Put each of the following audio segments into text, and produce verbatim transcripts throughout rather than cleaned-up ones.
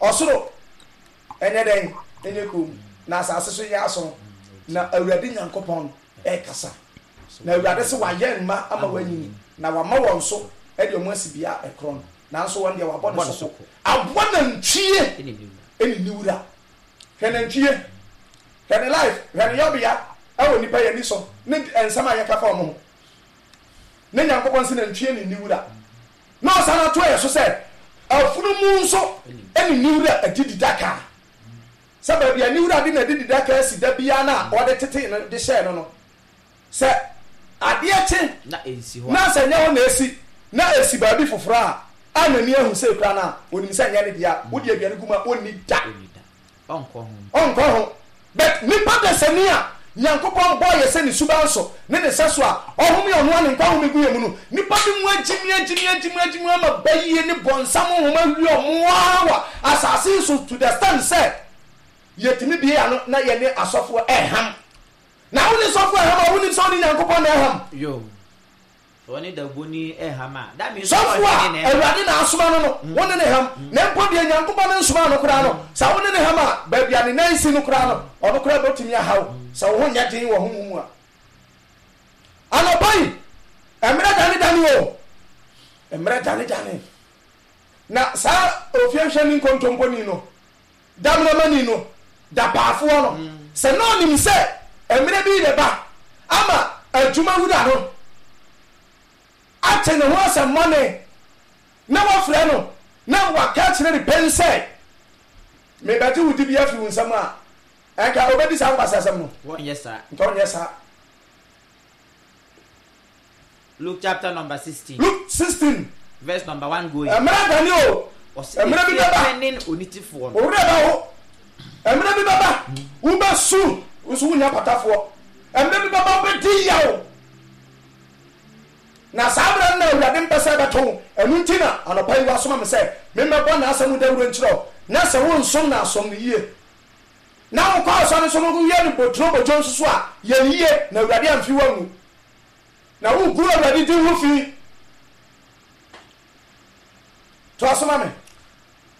Ɔsoro ɛnyɛ dɛn? Ɛnyɛ kom, na asase so nyɛ aso, na Awurade Nyankopɔn ɛrekasa. Na Awurade sɛ wayɛ mma ama wɔanyini, na wama wɔn so ɛde ɔmo asi bea ɛkorɔn, nanso wɔn deɛ wabɔ ne so ko. Aboa nantwie ɛne ne wura. Hwɛ nantwie, hwɛ ne life, hwɛ ne yɔbea ɛwɔ nipa yɛn ani so ne nsɛm a yɛka fa ɔmo ho. Ne Nyankopɔn sɛ nantwie ne ne wura, na ɔsan ato yɛ so sɛ afunumu nso ɛne ne wura adidi daka, sɛ baabi a ne wura de n'adidi daka asi da biara na ɔde tete no de hyɛɛ no no sɛ adeɛ kye na ɛnsi hɔ na sɛ nyɛ hɔ na esi na esi baabi foforɔ a a n'ani ahu sɛ ekura no a, onim sɛ nyɛ ne deɛ, wode aduane gu mu a, ɔnni da. Ɔnni da, ɔnkɔ ho. Ɔnkɔ ho. But nipa dasani a Nyankopɔn bɔɔ yɛ sɛ ne suban so ne ne sɛ so a ɔhome, ɔno a ne nkwa home gu yɛ mu no, nipa bi mu agyimi agyimi agyimi agyimi ama bayie ne bɔnsam honhom awie ɔmo ara wɔ asase yi so to the extent sɛ yɛtumi bie ano na yɛne asɔfoɔ ɛham. Na wo ne sɔfoɔ ɛham a, wonim sɛ wo ne Nyankopɔn na ɛham. Yo, ɔne daboni ɛham a, that means sɔfoɔ ɔne a ne ɛham. Awurade na asoma no no wo ne ne ham, na mpo deɛ Nyankopɔn no nsoma no koraa no, sɛ wo ne ne ham a, baabi a ne nan si no koraa no, ɔno koraa bɛtumi ahaw sɛ wo ho nyɛ den wɔ honhom mu a. Anɔpa yi, mmerɛ dane dane o, mmerɛ dane dane. Na saa ofiehwɛni nkontomponi no, damenamani no, dapaafoɔ no, sɛ na ɔnim sɛ mmerɛ bi reba ama adwuma wura no ate ne ho asɛmmɔne na wafrɛ no na waka kyerɛ ne pɛn sɛ mebɛgye wo dibi afiri wo nsam a, ɛnka obɛdi saa nkwasi asɛm no? Wɔnyɛ saa. Nka ɔnyɛ saa. Luke chapter number sixteen. Luke sixteen. Verse number one going. Mmerɛ dane o. Ɔsɛ mmerɛ bi efie bɛba. panin onitefoɔ no. Owurɛ bɛ ho, mmerɛ bi bɛba wobɛsu nso wonya patafoɔ. Mmerɛ bi bɛba wobɛdi yaw, na saa berɛ no na Awurade mpɛ sɛ ɛbɛto wo. Ɛno nti na anɔpa yi wasoma me sɛ memmɛbɔ n'asɛm dawuro nkyerɛ wo, na sɛ wonsom no asom no yie, na wokɔ asɔre nso no woyɛ no boturo bodwo nso so a, yɛ no yie, na Awurade amfi wangu na wogu Awurade din ho fi. To asoma me.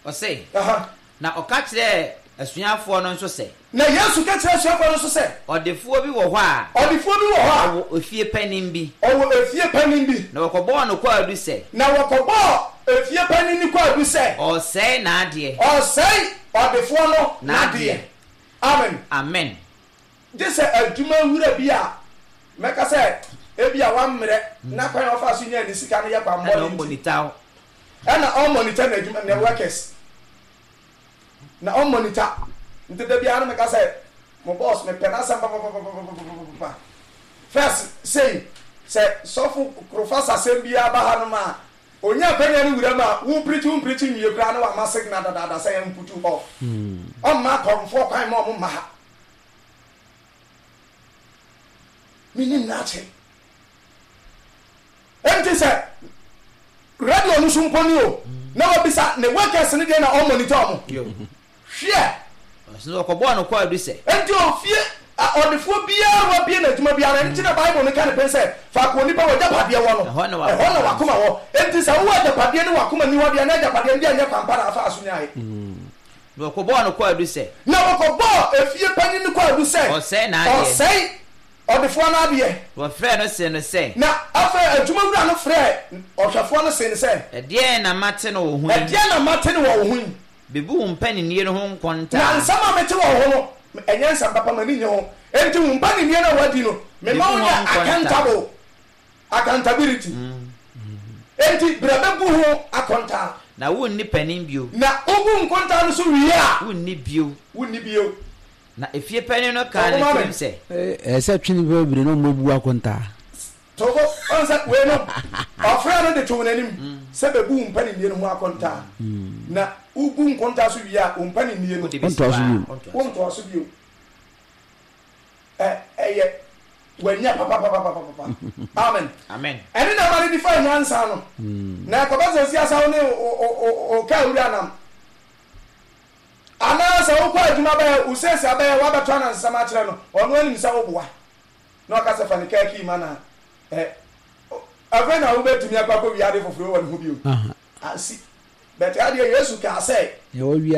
Ɔsɛ Aha. Na ɔka kyerɛɛ asuafoɔ no nso sɛ, Na Yesu ka kyerɛ asuafoɔ no nso sɛ, ɔdefoɔ bi wɔ hɔ a ɔdefoɔ bi wɔ hɔ a ɔwɔ efie panin bi. Ɔwɔ efie panin bi. Na wɔkɔbɔɔ no kwaadu sɛ Na wɔkɔbɔɔ efie panin no kwaadu sɛ ɔresɛe n'adeɛ. Ɔsɛe ɔdefoɔ no n'adeɛ. N'adeɛ. Amen. Amen. Gye sɛ adwuma wura bi a mɛka sɛ ebi a wammerɛ na kwan a ɔfa so nya ne sika no yɛ ɛna kwanbɔne ɔmmɔ nti ne taw. Ɛna ɔmmonitor n'adwuma, ne workers, na ɔmmonitor. Nti da biara no meka sɛ mo boss, mepɛ n'asɛm papapapapapapa. First sei sɛ sɔfo Kurofasa asɛm biara ba hanom a, onya akwanya no wura mu a, wo preach, wo preach nwie koraa na wama signal dadaada sɛ yɛn put you off. Ɔmma akɔmfoɔ kwan ma ɔmo mma ha. Menim n'akye. Ɛnti sɛ radio no so mpo ni o, na wabisa ne workers no deɛ na ɔmonitor ɔmo. Yo. Hwɛ. Ɔsɛ wɔkɔbɔɔ no kwaadu sɛ Ɛnti ofie a- ɔdefoɔ biara wabie n'adwuma biara, ɛnti na Bible no ka ne pɛn sɛ faako onipa wɔ agyapadeɛ wɔ no, ɛhɔ na wakoma ɛhɔ na wakoma wɔ. Ɛnti sɛ wowɔ agyapadeɛ ne wakoma ni hɔ deɛ, na agyapadeɛ no deɛ nyɛ kwampa na afa so nyae. Na wɔkɔbɔɔ no kwaadu sɛ Na wɔkɔbɔɔ efie panyin no kwaadu sɛ ɔsɛe n'adeɛ. Ɔsɛe ɔdefoɔ no adeɛ. Wɔfrɛɛ no see no sɛ, Na afei adwuma wura no frɛɛ ɔhwɛfoɔ no see no sɛ, ɛdeɛn na mate no wo ho yi? Ɛdeɛn na mate no wɔ wo ho yi? Bebu wo mpaninnie no ho nkontaa. Na nsɛm a mete wɔ wo ho no, ɛnyɛ nsɛm papa, m'ani nye ho. Enti wo mpaninnie no a woadi no, mema wo bebu nyɛ ho nkontaa. Accountable, accountability. Enti berɛ bɛbu ho akontaa. Na wonni panin bio. Na wobu nkontaa no so wie a, wonni bio. Wonni bio. Na efie panin no kaa ne Ɔmo ma me. tirim sɛ, ɛɛ sɛ twe nipa bebree na ɔmo abu akontaa. Togo ɔn sɛ wei no, ɔfrɛ no de to n'anim sɛ bɛbu wo mpaninnie no ho akontaa. Na wobu nkontaa so wie a, wo mpaninnie no wode bɛsi ɔntoa so hɔ a, bio. ɔntoa so. Wontoa so bio. Ɛ ɛyɛ wanya papapapapapa. Amen. Amen. Ɛne na ama no de fa nyansa no na ɛkɔbɛ sɛ siasa wo ne o kaa wura nam anaa sɛ wokɔ adwuma bɛyɛ wo sɛsi abɛyɛ woabɛto anansesɛm akyerɛ no, ɔno anim sɛ woboa na ɔka sɛ fa ne kaa kii ma na ɛ afei na wobɛtumi akɔ akɔ wiade foforɔ wɔ ne ho bio. Aha. Asi bɛte adeɛ Yesu kaa sɛ nea wɔwia.